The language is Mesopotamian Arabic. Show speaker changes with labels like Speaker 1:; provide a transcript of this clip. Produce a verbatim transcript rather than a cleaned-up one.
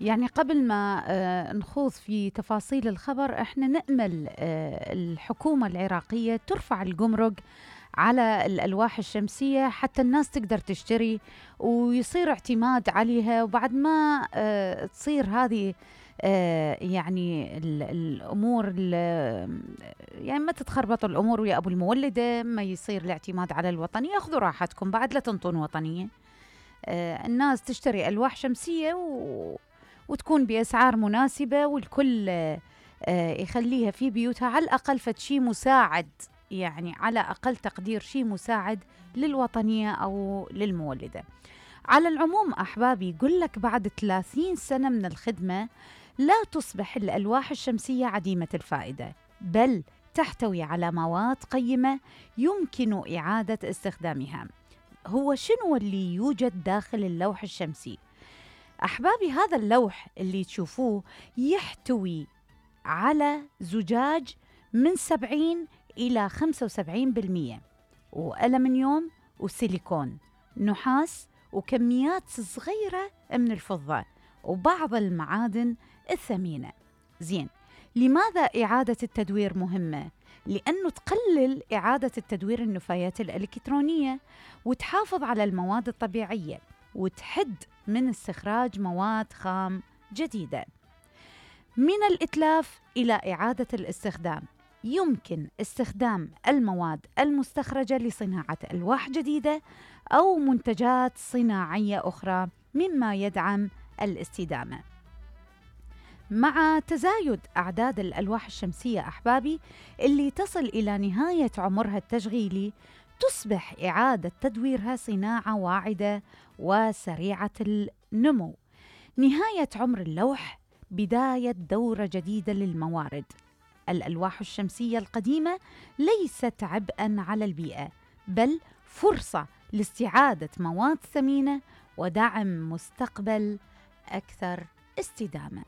Speaker 1: يعني قبل ما آه، نخوض في تفاصيل الخبر، احنا نأمل آه، الحكومة العراقية ترفع الجمرك على الألواح الشمسية حتى الناس تقدر تشتري ويصير اعتماد عليها، وبعد ما آه، تصير هذه آه، يعني ال- الأمور ال- يعني ما تتخربط الأمور ويا أبو المولدة، ما يصير الاعتماد على الوطنية. خذوا راحتكم بعد، لا تنطون وطنية. آه، الناس تشتري ألواح شمسية و... وتكون بأسعار مناسبة، والكل آه، آه، يخليها في بيوتها على الأقل فد شي مساعد، يعني على أقل تقدير شي مساعد للوطنية أو للمولدة. على العموم أحبابي، يقول لك بعد ثلاثين سنة من الخدمة لا تصبح الألواح الشمسية عديمة الفائدة، بل تحتوي على مواد قيمة يمكن إعادة استخدامها. هو شنو اللي يوجد داخل اللوح الشمسي؟ أحبابي، هذا اللوح اللي تشوفوه يحتوي على زجاج من سبعين إلى خمسة وسبعين بالمئة، وألمنيوم وسيليكون، نحاس، وكميات صغيرة من الفضة وبعض المعادن الثمينة. زين، لماذا إعادة التدوير مهمة؟ لأنه تقلل إعادة التدوير النفايات الإلكترونية، وتحافظ على المواد الطبيعية، وتحد من استخراج مواد خام جديدة. من الإتلاف إلى إعادة الاستخدام، يمكن استخدام المواد المستخرجة لصناعة ألواح جديدة أو منتجات صناعية أخرى، مما يدعم الاستدامة. مع تزايد أعداد الألواح الشمسية أحبابي اللي تصل إلى نهاية عمرها التشغيلي، تصبح إعادة تدويرها صناعة واعدة وسريعة النمو. نهاية عمر اللوح بداية دورة جديدة للموارد. الألواح الشمسية القديمة ليست عبئاً على البيئة، بل فرصة لاستعادة مواد ثمينة ودعم مستقبل أكثر استدامة.